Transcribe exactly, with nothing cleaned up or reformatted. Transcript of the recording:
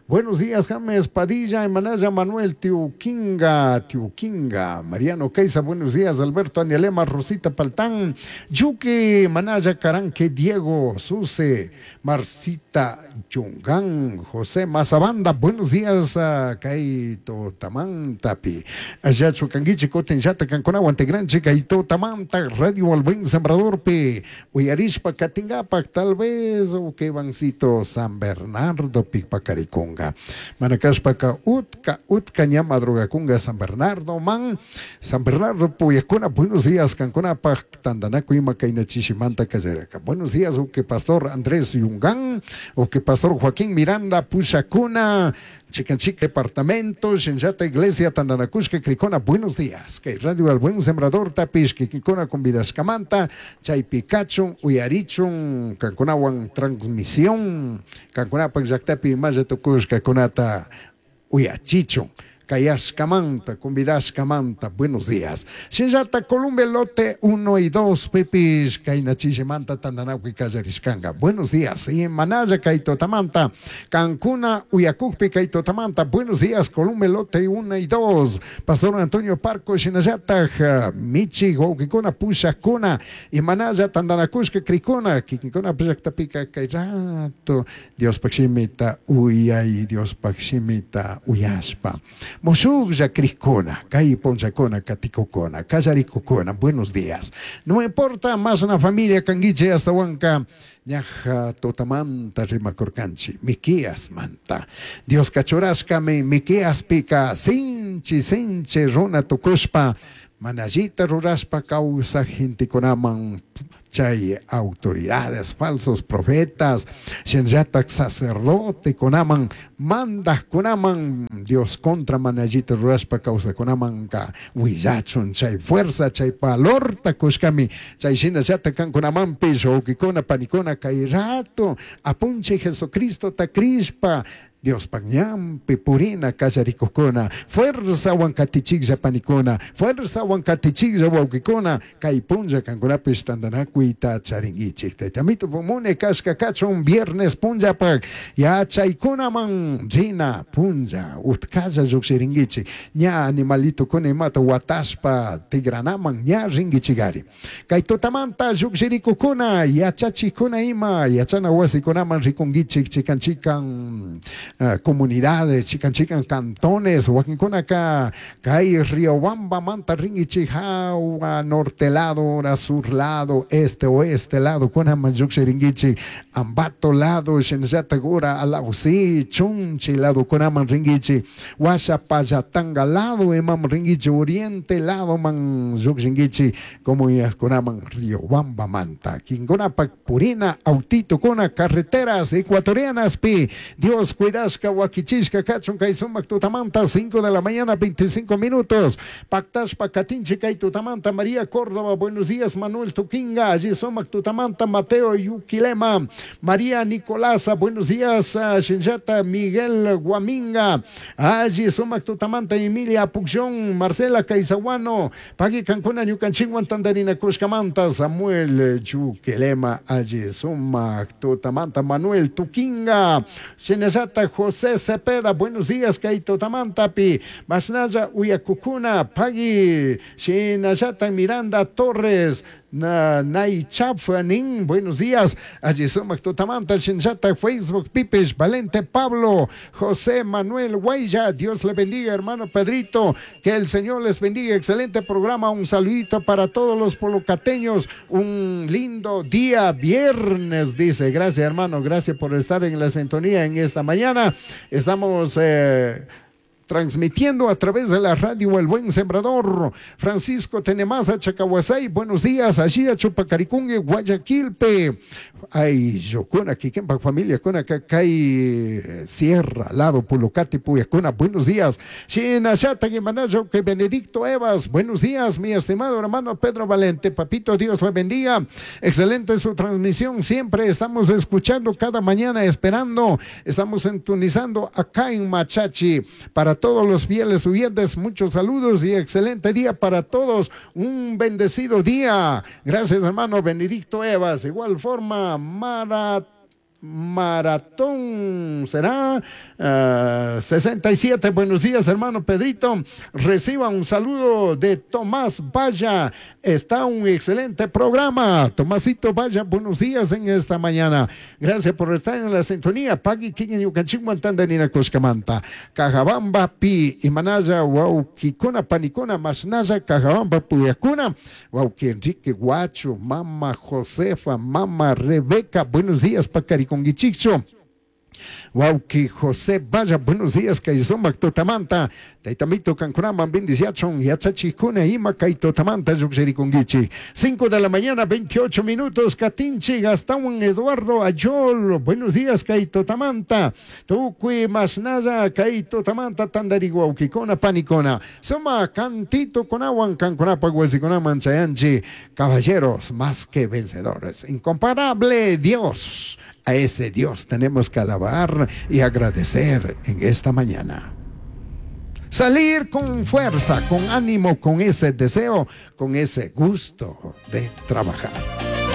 Buenos días, James Padilla, Emanaya Manuel Tiuquinga, Tiuquinga, Mariano Caiza, buenos días, Alberto Anialema, Rosita Paltán, Yuque, Manaya Caranque, Diego, Suse, Marcita Yungán, José Mazabanda, buenos días, Kaito Tamantapi, Ayacho Canguichi, Cotenchata, Canconahuan, Tegranchi, Kaito Tamanta, Radio El Buen Sembrador, Pi, Uyarishpa, Katingapac, tal vez, o que Bancito San Bernardo, Picpacariconga, Manacashpaca, Utka, Utka, Ñama, Drogaconga, San Bernardo, Man, San Bernardo, Puyacuna, buenos días, Cancuna, Tandanaco, Ima, Kainachishimanta, Cayaraca. Buenos días, o que Pastor Andrés Yungán, o que Pastor Joaquín Miranda, Puchacuna, Chicanchica, Departamento, Xenchata, Iglesia, Tandanacushka, Cricona, buenos días. Que Radio El Buen Sembrador, Tapish, Kikikona, Convidascamanta, Chaipicachun, Uyarichun, Cancunahuan, Transmisión, Cancunapac, Yactapi, Mayatucushka, Conata, Uyachichun. Cayascamanta, Convidascamanta, buenos días. Xenchata, Columbia, Lote uno y dos, Pepis, Kainachishimanta, Tandanauqui, Callariscanga. Buenos días. Y Manaya, Kaitotamanta, Cancuna, Uyacujpi, Kaitotamanta. Buenos días, Columbia, Lote uno y dos. Pastor Antonio Parco, Xinayata, Michi, Gauquicona, Pushacona, y Manaya, Tandanacushka, Cricona, Kikikona, Pishactapica, Kairato, Dios Paximita, Uyay, Dios Paximita, Uyaspa. Moshugya Cricona, Kay Ponchacona, Katicocona, Callaricocona, buenos días. No importa más una familia Canguiche hasta Huanca, Ñaja Totamanta Rimacorcanchi, Miqueas Manta, Dios Cachorascame, Miqueas Pica, Sinchi, Sinchi, Runa Tucuspa, Manallita Ruraspa, causa Genticonaman, chay autoridades, falsos profetas, shenyatak sacerdote, conaman, mandas conaman, Dios contra manallita ruraspa causa conaman ka huillachun, chay fuerza, chay palorta kushkami, chay shina yata kan conaman piso, ukikona, panicona, kay rato, apunche Jesucristo ta crispa, Dios pañampi, purina, callaricocona, fuerza huancatichigya panicona, fuerza huancatichigya huauquicona, caipunja canconapis tandanacuita charinguichik. Taitamito pumune casca cachon viernes punja pak, ya chaycunaman rina punja, utkalla yuxiringuichik, ña animalito conemato huataspa tigranaman ña ringuichigari. Caitotamanta yuxiricocona, yachachicona ima, yachana huasiconaman ricunguichik, chican chican. Uh, comunidades, chican chican cantones, Huaquincona Kay Riobamba, Manta Ringichi, Jaua, norte lado, sur lado, este, oeste lado, Cona Mayuxi Ambato lado, Xenjatagura, Alausi, Chunchi lado, Conaman Ringichi, Huachapayatanga lado, Emam Ringichi, oriente lado, Man Yuxingichi, como Conaman Riobamba Manta, Quingonapa, Purina, Autito, Cona, carreteras ecuatorianas, pi, Dios cuida. Huaquichishka, Cachun, Kaisumac, Tutamanta, cinco de la mañana, veinticinco minutos. Pactashpa, Catinche, Tutamanta, María Córdoba, buenos días, Manuel Tuquinga, Ayisomac, Tutamanta, Mateo Yuquilema, María Nicolasa, buenos días, Shinjata, Miguel Guaminga, Ayisomac, Tutamanta, Emilia Pucción, Marcela Caizaguano, Pagui Cancuna, Ñucanchinguan, Tandarina, Cuscamanta, Samuel Yuquilema, Ayisomac, Tutamanta, Manuel Tuquinga, Shinjata, José Cepeda, buenos días, Kaito Tamantapi, Masnaya Uyacucuna, Pagui, Shinayata Miranda Torres, Naichafanin, buenos días, allí somos Totamanta, Shinchata, Facebook, Pipes, Valente Pablo, José Manuel Guaya, Dios le bendiga, hermano Pedrito, que el Señor les bendiga, excelente programa, un saludito para todos los polocateños, un lindo día, viernes, dice, gracias hermano, gracias por estar en la sintonía en esta mañana, estamos... Eh, transmitiendo a través de la radio El Buen Sembrador. Francisco Tenemasa, Chacahuasay, buenos días, allí a Chupacaricungue, Guayaquilpe. Ay, Yocona, Quiquempa, familia, Cona, Cacay, Sierra, lado, Pulocati, Puyacona, buenos días. Chinachata, Guimanayo, que Benedicto Evas, buenos días, mi estimado hermano Pedro Valente, papito, Dios le bendiga. Excelente su transmisión, siempre estamos escuchando cada mañana, esperando, estamos sintonizando acá en Machachi. Para todos los fieles oyentes, muchos saludos y excelente día para todos, un bendecido día. Gracias, hermano Benedicto Evas. De igual forma, Mara Maratón será uh, sesenta y siete. Buenos días, hermano Pedrito. Reciba un saludo de Tomás Valla. Está un excelente programa. Tomasito Valla, buenos días en esta mañana. Gracias por estar en la sintonía. Pagui Kikin Yukanchikwan Tandanina Kushkamanta. Cajabamba Pi Imanaya Wauquicuna Panicuna Masnaya Cajabamba Puyacuna. Wauqui Enrique Guacho, Mama Josefa, Mama Rebeca. Buenos días, Pacaricón. Gichicho. Wauqui José Valla, buenos días, kay sumak tutamanta, taytamito kankunaman bendiciachun, yachachikuna ima kay tutamanta lluqshirikunkichik. cinco de la mañana, veintiocho minutos, Katinchi, Gastón Eduardo Ayol, buenos días, kay tutamanta, tukuy masnaya, kay tutamanta, tandari wauqikuna, panikuna, suma cantito kunawan, kankunapaq wasikunaman chayanchi, caballeros más que vencedores, incomparable Dios. A ese Dios tenemos que alabar y agradecer en esta mañana. Salir con fuerza, con ánimo, con ese deseo, con ese gusto de trabajar.